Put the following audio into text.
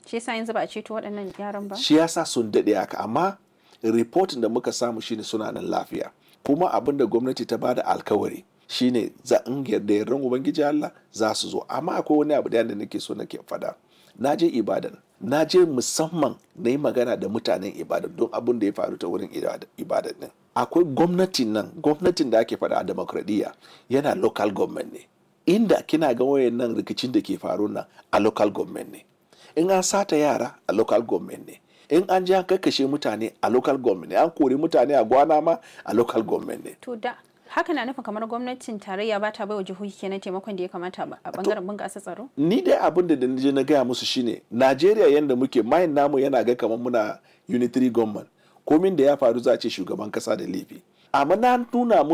Shi yasa yanzu ba a ceto waɗannan yaran ba? Shi yasa sun daɗe haka, amma reportin da muka samu shine suna nan lafiya. Kuma abin da gwamnati ta bada alkawari shine za in yarda yardan Ubangiji Allah za su zo. Amma akwai wani abu da nake so nake faɗa. Na je Ibadan, na je musamman na yi magana da mutanen Ibadan don abin da ya faru ta wurin Ibadan din. Akwai gwamnatin nan, gwamnatin da ake faɗa a demokradiyya yana local government ne. Inda kina ga wayannan rikicin da ke faru nan a local government ne. In an sata yara a local government ne. In an je an kakkashe mutane a local government ne. An kori mutane a gwana ma a local government ne. To da haka na nufin kamar gwamnatin tarayya ba ta baiwa jihohi kenan taimakon da ya kamata a bangaren bunƙasa tsaro? Ni dai abin da je na gaya musu shine Najeriya yanda muke mayin namu yana ga kamar muna unitary government. Komin da ya faru za a ce shugaban kasa da laifi. Amma na nuna musu